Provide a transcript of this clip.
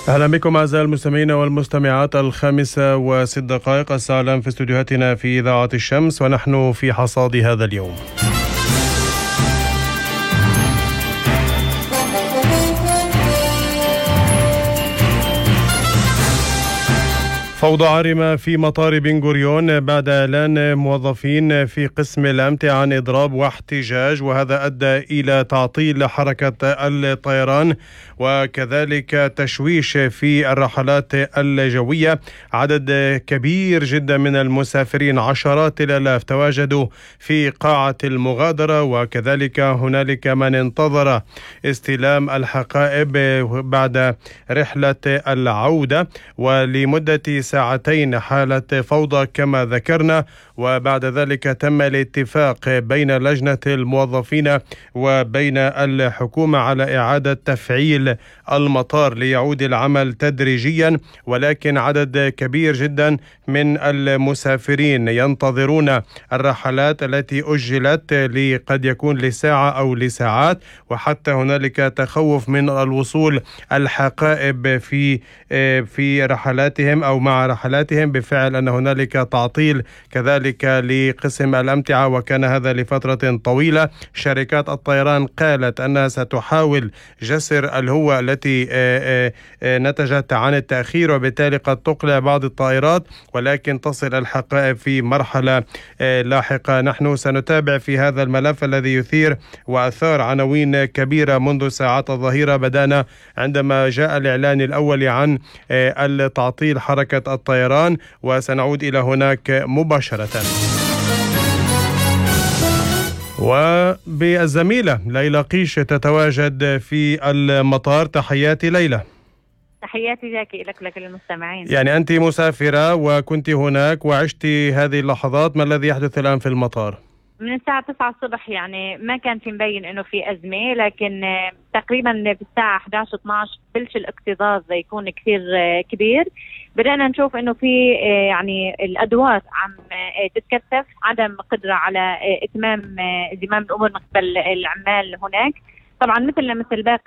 أهلا بكم أعزائي المستمعين والمستمعات. 5:06 الساعة الآن في استديوهاتنا في إذاعة الشمس، ونحن في حصاد هذا اليوم. فوضى عارمة في مطار بن غوريون بعد إعلان موظفين في قسم الأمتعة عن إضراب واحتجاج، وهذا أدى إلى تعطيل حركة الطيران وكذلك تشويش في الرحلات الجوية. عدد كبير جدا من المسافرين، عشرات الآلاف، تواجدوا في قاعة المغادرة، وكذلك هنالك من انتظر استلام الحقائب بعد رحلة العودة، ولمدة ساعتين حالة فوضى كما ذكرنا، وبعد ذلك تم الاتفاق بين لجنة الموظفين وبين الحكومة على إعادة تفعيل المطار ليعود العمل تدريجيا، ولكن عدد كبير جدا من المسافرين ينتظرون الرحلات التي أجلت قد يكون لساعة أو لساعات، وحتى هنالك تخوف من الوصول الحقائب في رحلاتهم أو مع رحلاتهم، بفعل أن هنالك تعطيل كذلك لقسم الأمتعة، وكان هذا لفترة طويلة. شركات الطيران قالت أنها ستحاول جسر الهوة التي نتجت عن التأخير، وبالتالي قد تقلع بعض الطائرات، ولكن تصل الحقائب في مرحلة لاحقة. نحن سنتابع في هذا الملف الذي يثير وأثار عناوين كبيرة منذ ساعات الظهيرة. بدأنا عندما جاء الإعلان الأول عن التعطيل حركة الطيران، وسنعود إلى هناك مباشرة. وبالزميلة ليلى قيش تتواجد في المطار. تحياتي ليلى. تحياتي جاكي لك للمستمعين. يعني أنت مسافرة وكنت هناك وعشت هذه اللحظات، ما الذي يحدث الآن في المطار؟ من الساعة 9 الصبح يعني ما كان في مبين انه في أزمة، لكن تقريبا في الساعة 11-12 بلش الاكتظاظ يكون كثير كبير. بدأنا نشوف انه في يعني الأدوات عم تتكثف، عدم قدرة على إتمام زمام الأمور من قبل العمال هناك. طبعا مثل باقي